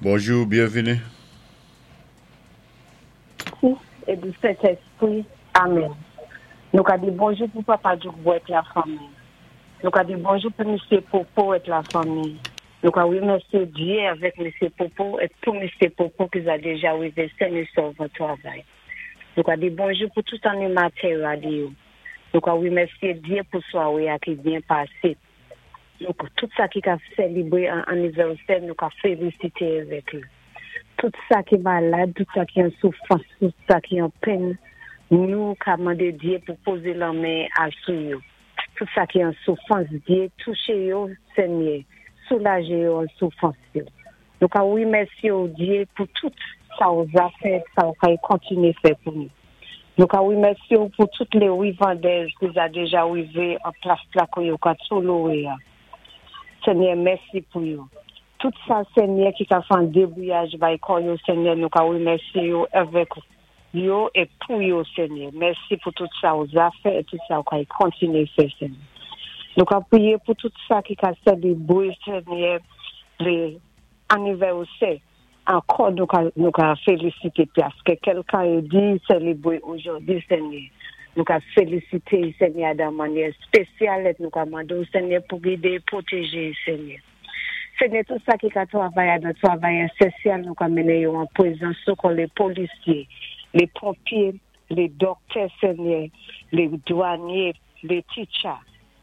Bonjou, byenvini. Fis e di Sentespri. Amen. Nou ka di bonjou pou Papa Djoukbo èt lafanmi. Nou ka di bonjou pou Misye Popo èt lafanmi. Nou ka remèsye Dye avèk Misye Popo èt pou Misye Popo ki za deja rive sen e sòv an travay. Nou ka di bonjou pou tout animatè radyo. Nou ka remèsye Dye pou sware a ki byen pase. Nou tout sa ki ka selebre an anivèsè nou ka felisite avèk yo. Tout sa ki malad, tout sa ki an soufrans, tout sa ki an penn, nou ka mande Dye pou poze lanmen a sou yo. Tout sa ki an soufrans, Dye touche yo, Senyè, soulaje yo an soufrans yo. Nou ka remèsye w Dye pou tout sa ou za fè, sa ou kay kontinye fè pou nou. Nou ka remèsye w pou tout le rivandèz ki za deja rive an plas la kou yo ka tou lowe a. Senyè mèsi pou yo. Tout sa Senyè ki ka fè an debouyaj bay kò yo Senyè nou ka remèsye yo avèk yo e pou yo Senyè. Mèsi pou tout sa ou za fè e tout sa ou kay kontinye fè Senyè. Nou ka priye pou tout sa ki ka selebre Senyè le anivèsè ankò nou ka nou ka felisite paske kèlkan yo di selebre ojòdi Senyè. Nou ka felisite Senyè dan manyè spesyal et nou ka mande w Senyè pou gide e pwoteje Senyè. Senyè tout sa ki ka travay a nan travay esesyal nou ka mennen yo an prezans nou kon le polisye, le ponpye, le dòktè Senyè, le dwanye, le titcha.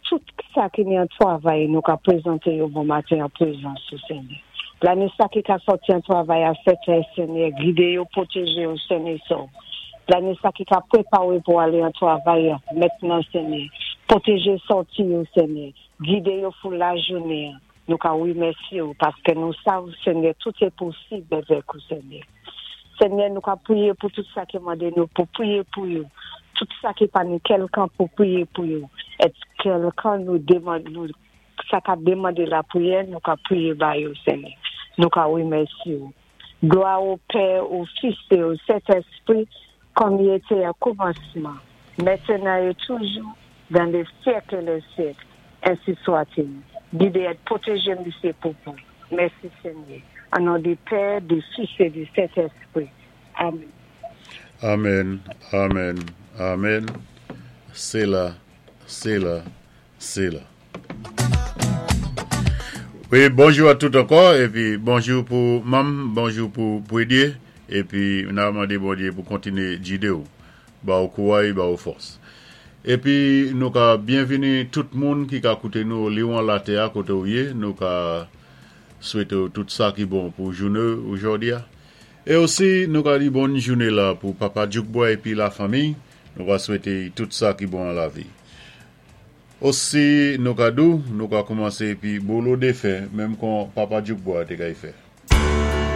Tout sa ki ni an travay nou ka prezante yo bon maten an prezans ou Senyè. Lane sa ki ka sòti an travay a 7 è Senyè gide yo pwoteje yo sen e sov. Lane sa ki ka prepare pou ale an travay mentnan Senyè pwoteje sòti yo Senyè gide yo pou lajounen an. Nou ka remèsye ou paske nou sav Senyè tout e posib avèk ou Senyè. Senyè nou ka priye pou tout sa ki mande nou pou priye pou yo, tout sa ki pa ni kèlkan pou priye pou yo, et kèlkan nou demand nou sa ka demande lapriyè nou ka priye ba yo Senyè. Nou ka remèsye ou. Glwa o Pè, o Fis e o Sentespri kòm i ete o koumansman, mentenan e toujou, dan le syèk e lè syèk. Ensi swatil. Gide et pwoteje misye Popo. Mèsi Senyè. An non di Pè, di Fis e di Sentespri. Amen. Amen amen amen sela sela sela. Wi bonjou a tout ankò epi bonjou pou manm bonjou pou pwedye epi na mande Bondye pou kontinye jidew ba ou kouray ba ou fòs epi nou ka byenvini tout moun ki ka koute nou liwan latè a kote ou ye nou ka swete ou tout sa ki bon pou joune ou jodi a e osi nou ka di bòn joune la pou papa Djoukboy epi la fanmi nou ka swete tout sa ki bon an lavi. Osi nou ka dou, nou ka koumanse epi bolo defè menm kon papa Djoukbo a te kay fè.